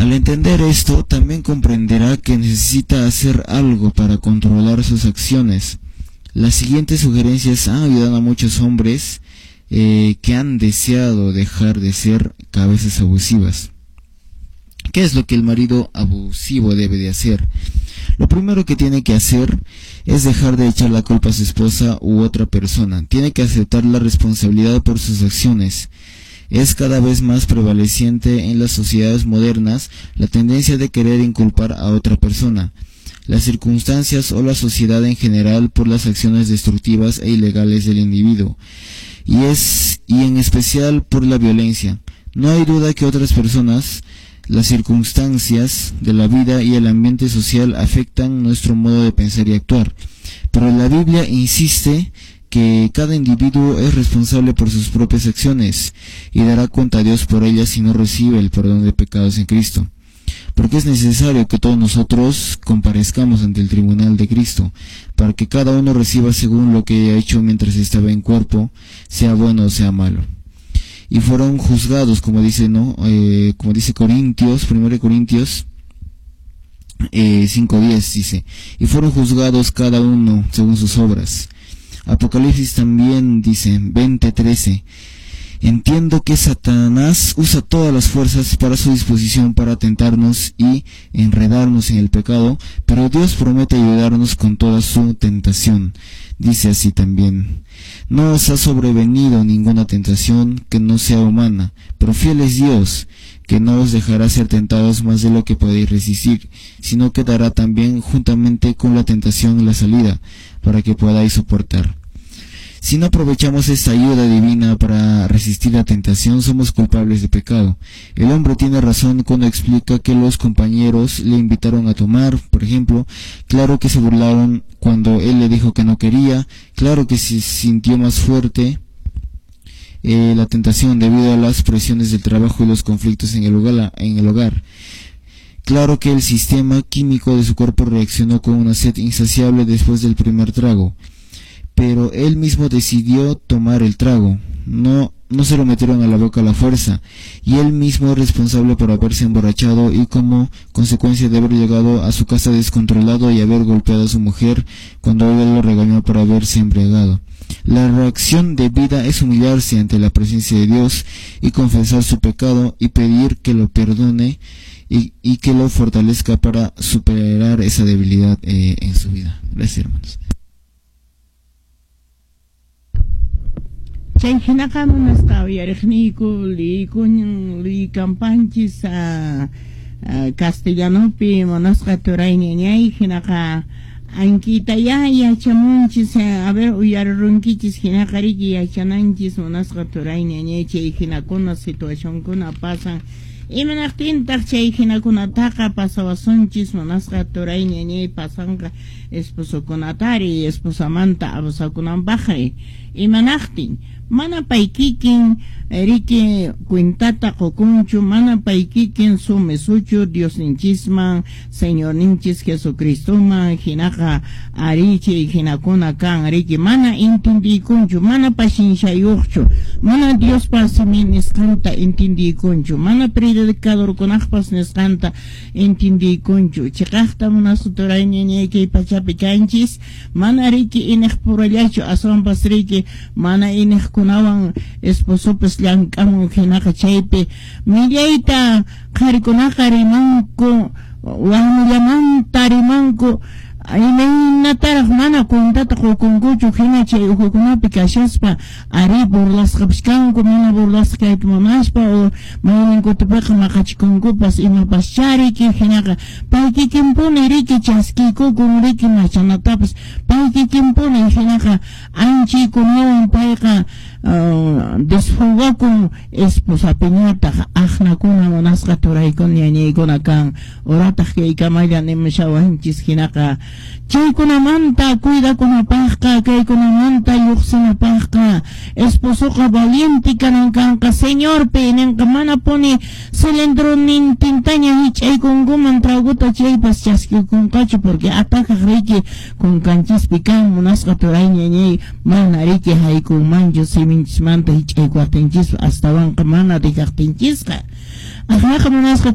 Al entender esto, también comprenderá que necesita hacer algo para controlar sus acciones. Las siguientes sugerencias han ayudado a muchos hombres que han deseado dejar de ser cabezas abusivas. ¿Qué es lo que el marido abusivo debe de hacer? Lo primero que tiene que hacer es dejar de echar la culpa a su esposa u otra persona. Tiene que aceptar la responsabilidad por sus acciones. Es cada vez más prevaleciente en las sociedades modernas la tendencia de querer inculpar a otra persona, las circunstancias o la sociedad en general por las acciones destructivas e ilegales del individuo, y en especial por la violencia. No hay duda que otras personas, las circunstancias de la vida y el ambiente social afectan nuestro modo de pensar y actuar. Pero la Biblia insiste que cada individuo es responsable por sus propias acciones y dará cuenta a Dios por ellas si no recibe el perdón de pecados en Cristo. Porque es necesario que todos nosotros comparezcamos ante el tribunal de Cristo, para que cada uno reciba según lo que haya hecho mientras estaba en cuerpo, sea bueno o sea malo. Y fueron juzgados, como dice, ¿no? Como dice Corintios, 1 Corintios 5:10 dice, y fueron juzgados cada uno según sus obras. Apocalipsis también dice, 20:13, entiendo que Satanás usa todas las fuerzas para su disposición para tentarnos y enredarnos en el pecado, pero Dios promete ayudarnos con toda su tentación. Dice así también, no os ha sobrevenido ninguna tentación que no sea humana, pero fiel es Dios, que no os dejará ser tentados más de lo que podéis resistir, sino que dará también juntamente con la tentación la salida, para que podáis soportar. Si no aprovechamos esta ayuda divina para resistir la tentación, somos culpables de pecado. El hombre tiene razón cuando explica que los compañeros le invitaron a tomar, por ejemplo. Claro que se burlaron cuando él le dijo que no quería. Claro que se sintió más fuerte la tentación debido a las presiones del trabajo y los conflictos en el hogar. Claro que el sistema químico de su cuerpo reaccionó con una sed insaciable después del primer trago. Pero él mismo decidió tomar el trago, no se lo metieron a la boca a la fuerza, y él mismo es responsable por haberse emborrachado y como consecuencia de haber llegado a su casa descontrolado y haber golpeado a su mujer cuando ella lo regañó por haberse embriagado. La reacción de vida es humillarse ante la presencia de Dios y confesar su pecado y pedir que lo perdone y que lo fortalezca para superar esa debilidad en su vida. Gracias, hermanos. Chay hinaqa munasqa uyariqniyku liykampanchis castellanopi munasqa turay ñañay hinaqa ankitaya yachamunchis, a ver uyarirunkichis hinaqa riki yachananchis munasqa turay ñañay chay hinakuna situacionkuna pasan imanaqtintaq chay hinakunataqa pasawasunchis munasqa turay ñañay pasanqa esposokunatari esposamanta abusakunanpaqri imanaqtin mana pay kikin riki cuentata qukunchu mana pay kikin sumisuchu Diosninchisman Señorninchis Jesucristoman hinaqa ari chay hinakuna kan riki mana intindiykunchu mana pashinshayuqchu mana Diospa simin nisqanta intindiykunchu mana predicadorkunaqpas nisqanta intindiykunchu chiqaqta munasqa turay ñañay kay pachapi kanchis mana riki iniqpurallachu aswanpas riki mana iniqkunawan esposopas llank'amun hinaqa chaypi millayta qharikunaqa rimanku warmillamanta rimanku imaynataraq mana cuentata qukunkuchu hina chay uhukunapi kashaspa ari burlasqapas kanku mana burlasqa kayta munaspa o mayninkutupiqa maqachikunkupas imapas chariki hinaqa pay kikinpuni riki chaskikukun riki machanatapas pay kikinpuni hinaqa anchaykunawan payqa desfogakun esposapiñataq aqnakuna munasqa turaykuna ñañaykuna kan urataq kaykamalla nimushawanchis hinaqa chaykunamanta cuidakunapaqqa kaykunamanta lluqsinapaqqa esposoqa valiente kanan kanqa Señorpi ninqa mana puni cilindronintintaña hich'aykunkuman traguta chaypas chaskikunqachu porque atakaq riki kunkanchispi kan munasqa turay ñañay mana riki haykunmanchu siminchismanta hich'aykuwaqtinchispa astawanqa mana dejaqtinchisqa aqnaqa munasqa.